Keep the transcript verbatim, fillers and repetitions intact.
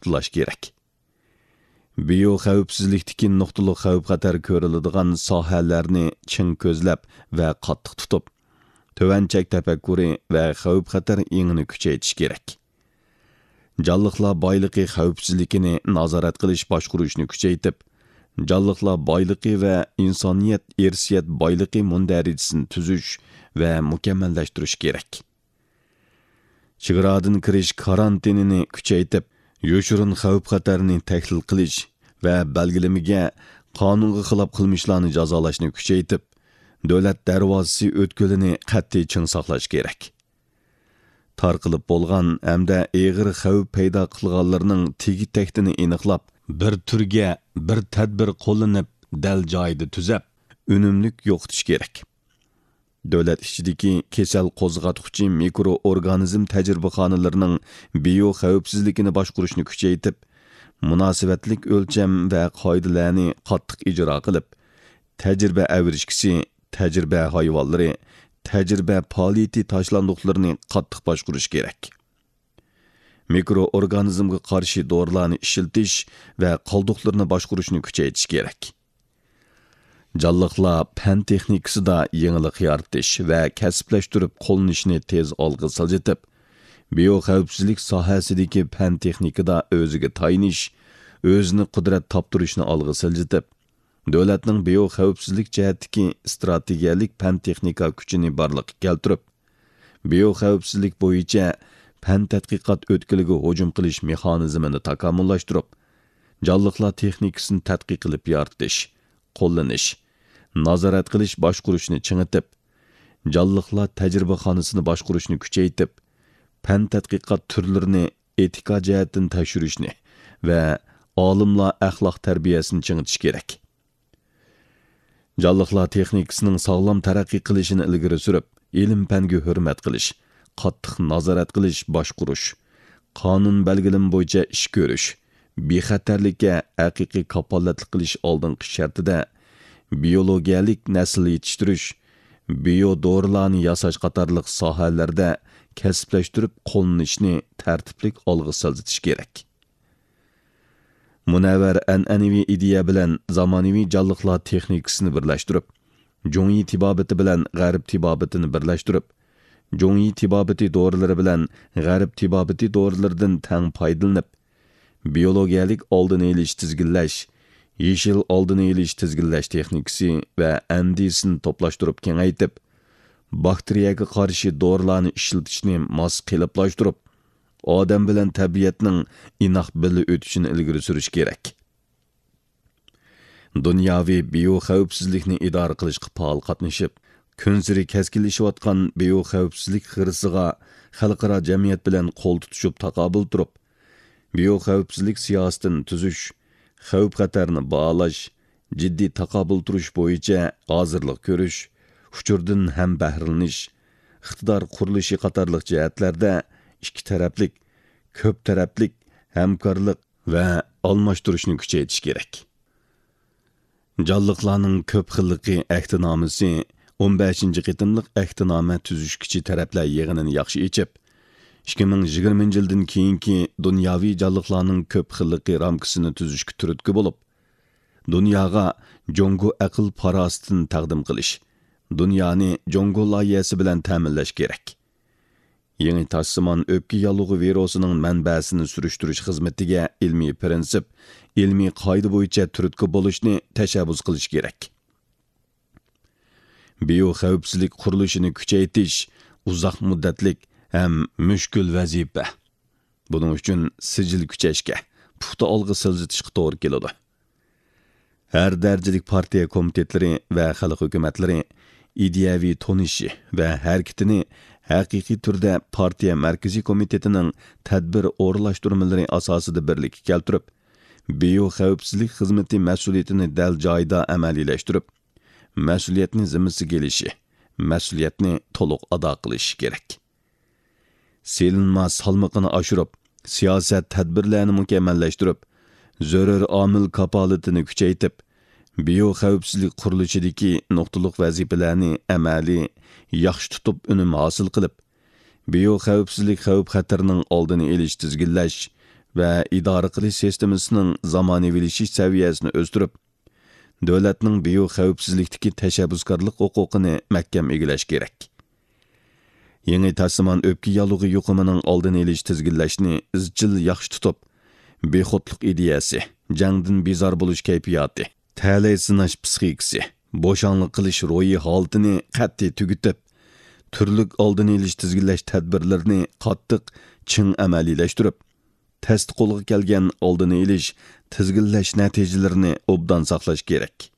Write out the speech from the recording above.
پۇختىلاش كېرەك. بىيو خەۋپسىزلىكتىكى نۇقتىلىق خەۋپ-خەتەر كۆرۈلىدىغان ساھەلەرنى چىڭ كۆزلەپ ۋە قاتتىق تۇتۇپ، تۆۋەن چەك تەپەككۇرى ۋە خەۋپ-خەتەر ئېڭىنى كۈچەيتىش كېرەك. جانلىقلار بايلىقى خەۋپسىزلىكىنى نازارەت قىلىش باشقۇرۇشنى كۈچەيتىپ، جانلىقلار بايلىقى ۋە ئىنسانىيەت ئىرسىيەت بايلىقى مۇندەرىجىسىنى تۈزۈش ۋە مۇكەممەللەشتۈرۈش كېرەك. چېگرادىن كىرىش كارانتىنىنى كۈچەيتىپ، يوشۇرۇن خەۋپ-خەتەرنى تەھلىل قىلىش ۋە بەلگىلىمىگە، قانۇنغا خىلاپ قىلمىشلارنى جازالاشنى كۈچەيتىپ، دۆلەت دەرۋازىسى ئۆتكىلىنى قەتئىي چىڭ ساقلاش كېرەك. تارقىلىپ بولغان ھەمدە ئېغىر خەۋپ پەيدا قىلغانلىرىنىڭ تېگى-تەكتىنى ئېنىقلاپ، بىر تۈرگە بىر تەدبىر قوللىنىپ، دەل جايىدا تۈزەپ، ئۈنۈملۈك يوقىتىش كېرەك. دۆلەت ئىچىدىكى كېسەل قوزغاتقۇچى مىكرو ئورگانىزم تەجرىبىخانىلىرىنىڭ بىيو خەۋپسىزلىكىنى باشقۇرۇشنى كۈچەيتىپ، مۇناسىۋەتلىك ئۆلچەم ۋە قائىدىلەرنى قاتتىق ئىجرا قىلىپ، تەجرىبە ئەۋرىشكىسى، تەجرىبە ھايۋانلىرى، تەجرىبە پائالىيىتى تاشلاندۇقلىرىنى قاتتىق باشقۇرۇش كېرەك. مىكرو ئورگانىزمغا قارشى دورىلارنى ئىشلىتىش ۋە قالدۇقلىرىنى باشقۇرۇشنى كۈچەيتىش كېرەك. جانلىقلار پەن تېخنىكىسىدا يېڭىلىق يارىتىش ۋە كەسىپلەشتۈرۈپ قوللىنىشنى تېز ئالغا سىلجىتىپ، بىيو خەۋپسىزلىك ساھەسىدىكى پەن تېخنىكىدا ئۆزىگە تايىنىش، ئۆزىنى قۇدرەت تاپتۇرۇشنى ئالغا سىلجىتىپ، دۆلەتنىڭ بىيو خەۋپسىزلىك جەھەتتىكى ئىستراتېگىيەلىك پەن تېخنىكا كۈچىنى بارلىققا كەلتۈرۈپ، بىيو خەۋپسىزلىك بويىچە پەن تەتقىقات ئۆتكىلىگە ھۇجۇم قىلىش مېخانىزمىنى تاكامۇللاشتۇرۇپ، جانلىقلار تېخنىكىسىنى تەتقىق قىلىپ يارىتىش، قوللىنىش، نازارەت قىلىش باشقۇرۇشنى چىڭىتىپ، جانلىقلار تەجرىبىخانىسىنى باشقۇرۇشنى كۈچەيتىپ، پەن تەتقىقات تۈرلىرىنى ئېتىكا جەھەتتىن تەكشۈرۈشنى ۋە ئالىملار ئەخلاق تەربىيەسىنى چىڭىتىش كېرەك. جانلىقلار تېخنىكىسىنىڭ ساغلام تەرەققىي قىلىشىنى ئىلگىرى سۈرۈپ، ئىلىم-پەنگە ھۆرمەت قىلىش، قاتتىق نازارەت قىلىش، باشقۇرۇش، قانۇن بەلگىلىمە بويىچە ئىش كۆرۈش، بىخەتەرلىككە ھەقىقىي كاپالەتلىك قىلىش ئالدىنقى شەرتىدە، بىيولوگىيەلىك نەسىل يېتىشتۈرۈش، بىيو دورىلارنى ياساش قاتارلىق ساھەلەردە كەسىپلەشتۈرۈپ قوللىنىشنى تەرتىپلىك ئالغا سىلجىتىش كېرەك. مۇنەۋۋەر ئەنئەنىۋى ئىدىيە بىلەن زامانىۋى جانلىقلار تېخنىكىسىنى بىرلەشتۈرۈپ، جۇڭيى تېبابىتى بىلەن غەرب تېبابىتىنى بىرلەشتۈرۈپ، جۇڭيى تېبابىتى دورىلىرى بىلەن غەرب تېبابىتى دورىلىرىدىن تەڭ پايدىلىنىپ، بىيولوگىيەلىك ئالدىنى ئېلىش تىزگىنلەش، يېشىل ئالدىنى ئېلىش تىزگىنلەش تېخنىكىسى ۋە ئەندىزىسىنى توپلاشتۇرۇپ كېڭەيتىپ، باكتېرىيەگە قارشى دورىلارنى ئىشلىتىشنى ماس قېلىپلاشتۇرۇپ، ئادەم بىلەن تەبىئەتنىڭ ئىناق بىللە ئۆتۈشىنى ئىلگىرى سۈرۈش كېرەك. دۇنياۋى بىيو خەۋپسىزلىكنى ئىدارە قىلىشقا پائال قاتنىشىپ، كۈنسېرى كەسكىنلىشىۋاتقان بىيو خەۋپسىزلىك خىرىسىغا خەلقئارا جەمئىيەت بىلەن قول تۇتۇشۇپ تاقابىل تۇرۇپ، بىيو خەۋپسىزلىك سىياسىتىنى تۈزۈش، خەۋپ-خەتەرنى باھالاش، جىددىي تاقابىل تۇرۇش بويىچە ھازىرلىق كۆرۈش، ئۇچۇردىن ھەم بەھرىلىنىش، ئىقتىدار قۇرۇلۇشى قاتارلىق جەھەتلەردە ئىككى تەرەپلىك، كۆپ تەرەپلىك ھەمكارلىق ۋە ئالماشتۇرۇشنى كۈچەيتىش كېرەك. جانلىقلارنىڭ كۆپ خىللىقى ئەھدىنامىسى ئون بەشىنچى قېتىملىق ئەھدىنامە تۈزۈشكۈچى تەرەپلەر يىغىنىنى ياخشى ئېچىپ، ئىككى مىڭ يىگىرمىنچى يىلدىن كېيىنكى دۇنياۋى جانلىقلارنىڭ كۆپ خىللىقى رامكىسىنى تۈزۈشكە تۈرتكە بولۇپ، دۇنياغا جۇڭگو ئەقىل پاراسىتىنى تەقدىم قىلىش، دۇنيانى جۇڭگو لايىھەسى بىلەن تەمىنلەش كېرەك. يېڭى تاشسىمان ئۆپكە ياللۇغى ۋىرۇسىنىڭ مەنبەسىنى سۈرۈشتۈرۈش خىزمىتىگە ئىلمىي پىرىنسىپ، ئىلمىي قائىدە بويىچە تۈرتكە بولۇشنى تەشەببۇس قىلىش كېرەك. بىيو خەۋپسىزلىك قۇرۇلۇشىنى كۈچەيتىش ئۇزاق مۇددەتلىك ھەم مۈشكۈل ۋەزىپە. بۇنىڭ ئۈچۈن سىجىل كۈچەشكە، پۇختا ئالغا سىلجىتىشقا توغرا كېلىدۇ. ھەر دەرىجىلىك پارتىيە كومىتېتلىرى ۋە خەلق ھۆكۈمەتلىرى ئىدىيەۋى تونۇشى ۋە ھەرىكىتىنى ھەقىقىي تۈردە پارتىيە مەركىزىي كومىتېتىنىڭ تەدبىر ئورۇنلاشتۇرمىلىرى ئاساسىدا بىرلىككە كەلتۈرۈپ، بىيو خەۋپسىزلىك خىزمىتى مەسئۇلىيىتىنى دەل جايىدا ئەمەلىيلەشتۈرۈپ، مەسئۇلىيەتنى زىممىسىگە ئېلىشى، مەسئۇلىيەتنى تولۇق ئادا قىلىشى كېرەك. سېلىنما سالمىقىنى ئاشۇرۇپ، سىياسەت تەدبىرلەرنى مۇكەممەللەشتۈرۈپ، زۆرۈر ئامىل كاپالىتىنى كۈچەيتىپ، بىيو خەۋپسىزلىك قۇرۇلۇشىدىكى نۇقتىلىق ۋەزىپىلەرنى ئەمەلىي ياخشى تۇتۇپ ئۈنۈم ھاسىل قىلىپ، بىيو خەۋپسىزلىك خەۋپ خەتىرىنىڭ ئالدىنى ئېلىش، تىزگىنلەش، ۋە ئىدارە قىلىش سىستېمىسىنىڭ زامانىۋىلىشىش سەۋىيەسىنى ئۆستۈرۈپ، دۆلەتنىڭ بىيو خەۋپسىزلىكتىكى تەشەببۇسكارلىق ھوقۇقىنى مەھكەم ئىگىلەش كېرەك. يېڭى تاسىمان ئۆپكە ياللۇغى يۇقۇمىنىڭ ئالدىنى ئېلىش، تىزگىنلەشنى ئىزچىل ياخشى تۇتۇپ، بىخۇدلۇق ئىدىيەسى، جەڭدىن بىزار بولۇش كەيپىياتى، تەلەي سىناش پىسخىكىسى، بوشاڭلىق قىلىش روھىي ھالىتىنى قەتئىي تۈگىتىپ، تۈرلۈك ئالدىنى ئېلىش، تىزگىنلەش تەدبىرلىرىنى قاتتىق، چىڭ ئەمەلىيلەشتۈرۈپ، تەستە قولغا كەلگەن ئالدىنى ئېلىش، تىزگىنلەش نەتىجىلىرىنى ئوبدان ساقلاش كېرەك.